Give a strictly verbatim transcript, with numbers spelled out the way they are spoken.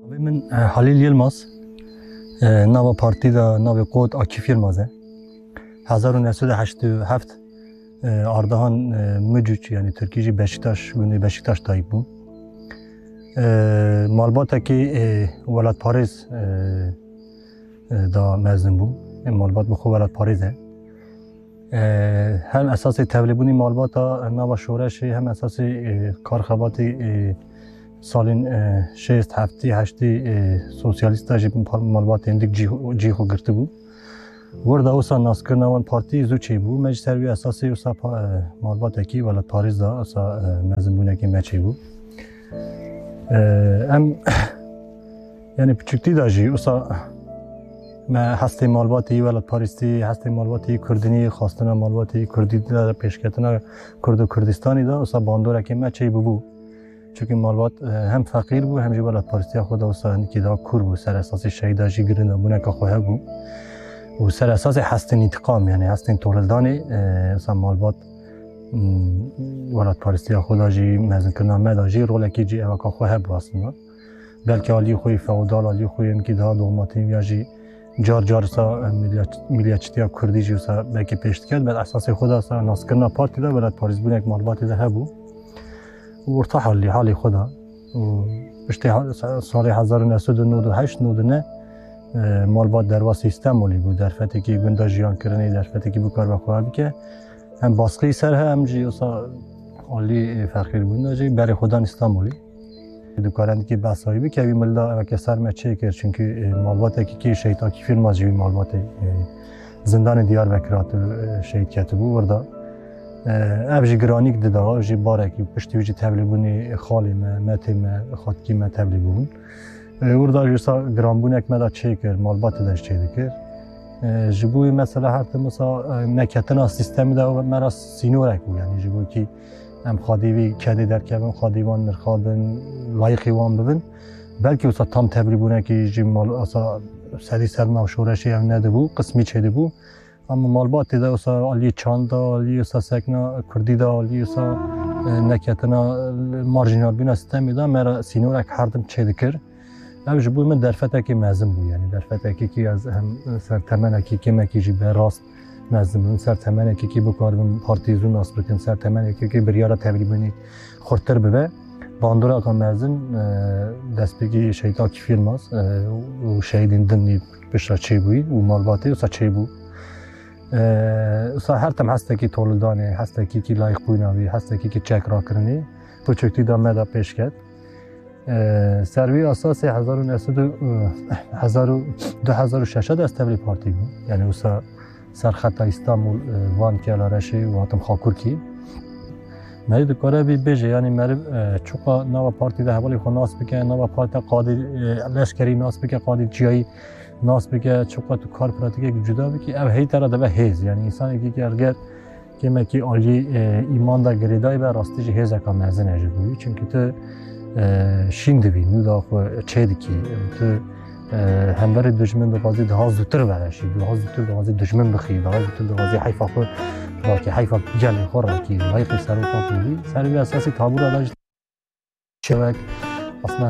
Navê min, e, Halîl Yilmaz. E, nava partî de navê Kot Akîf Yilmaz e. Hezar û neh sed û heştê û heft, e, Ardahan, e, Mucuç, yanî Tirkî jî Beşiktaş, gundê Beşiktaş dayik bû. E, malbatekî, e, welatparêz, e, e, da mezin bû. E, malbat bi xwe welatparêz e. E, hem esasê tevlîbûnî malbata nava şoreşê, hem esasê, e, kar xebatê, e, salên, e, şêst, heftê, heştê, e, sosyalîst de jî malbatên dik cî, cî xwe girtibû. Wurda wisa naskirina wan partî zû çêbû. Me ji ser wî esasê wisa pa-, e, malbatekî welatparêz da, wisa, e, mezinbûnekê me çêbû. E, em, yanî piçûktî de jî wisa me hestê malbatî, welatparêstî, hestê malbatî kurdînî, xwestina malbatî kurdî de pêşketina Kurd û Kurdistanî de wisa bandorekê me çêbûbû. Çunkî malbat, e, hem feqîr bû, hem jî welatparêstiya xwe de wisa hinekî daha kûr bû, ser esasê şehîda jî girindabûneka xwe hebû. Û ser esasê hestên întiqam, yanî hestên tolildanê, e, wisa malbat, m, welatparêstiya xwe de jî, mezinkirina me de jî rolekî cî evaka xwe hebû aslında. Belkî aliyê xwe yê feodal, aliyê xwe yê hinekî daha dogmatîk ya jî car car wisa, e, milliyet-, milliyetçîtiya kurdî jî wisa belkî pêş diket, bel esasê xwe de wisa naskirina partî de welatparêzbûnek malbatê de hebû. Û orta halî, halê xwe de. Û piştî ha-, sa-, salê hezar û neh sed û nod û heşt nod û neh, e, malbat derbasî Stenbolê bû. Derfetekî gunda jiyan kirinê, derfetekî bikaribe xwe bike. Hem baskî ser he, hem jî wisa alî, e, feqîrbûn de jî berê xwe dan Stenbolê. Dikare hinekî behsa wî bike, wî milda eveke ser me çêkir, çunkî, e, malbatekî kî Şehîd Akîf Yilmaz jî wî malbatê, e, zindanê Diyarbekir hatibû, e, şehîd ketibû. Wurda, e, ev jî giranîk dida, ev jî barekî, piştî wî jî tevlîbûnê xalê me, metê me, xalkî me tevlî bûbûn. E, wurda jî wisa giranbûnek me de çêkir, malbatê de jî çêdikir. E, ji bo wî mesela her tim wisa, e, neketina sîstemî de me re sînorek bû, yanî ji bo kî em xwedî vî kedê derkevin, xwedî wan nirxabin, layîqî wan bibin. Belkî wisa tam tevlîbûnekî jî mal, wisa sedî ser nav şoreşê ev nedibû, qismî çêdibû. Ama malbatê de wisa aliyê çanda, aliyê wisa sekna kurdî de, aliyê wisa, e, neketina, e, marjînalbûna sîstemê de me re sînorek her tim çêdikir. Ev ji bo min derfetekî mezin bû, yanî derfetekî kî ez hem ser temenekî kêmekî jî be rast mezin bibim, ser temenekî kî bikaribim partî zû nas bikim, ser temenekî kî biryara tevlîbûnê xurttir bibe. Bandoreka mezin, e, destpêkî Şehîd Akîf Yilmaz, e, û şehîdên din jî piştre çêbûyî û malbatê wisa çêbû. E, wisa her tim hestekî tolildanê, hestekî kî layîqbûna wî, hestekî kî çek rakirinê, piçûktî de me de pêş ket. E, ser wî esasê hezar û neh sed û, e, hezar û, du hezar û şeş de ez tevlî partî bûm. Yanî wisa ser xeta Îstanbul, e, Van, Kelareşê û hatim Xakurkî. Merî dikare bî bêje, yanî merî, e, çuqa nava partî de hevalê xwe nas bike, nava partî de qadê, e, leşkerî nas bike, qadê çiyayî nas bike, çuqa tu kar pratîkek cuda bikî, ev hey te re dibe hêz. Yanî însanekî ki eger kêmekî alî, e, îman de girêdayî be, rastî jî hêzeka mezin e ji bo wî. Çimkî tu, e, şîn dibî, nû da xwe çê dikî. Tu, e, hemberî dijmin dixwazî daha zûtir vereşî, daha zûtir dixwazî dijmin bixî, daha zûtir dixwazî heyfa xwe rakî, heyfa gelê xwe rakî, layîqî seroka xwe bî. Ser vî esasî tabûra de jî çewek, aslında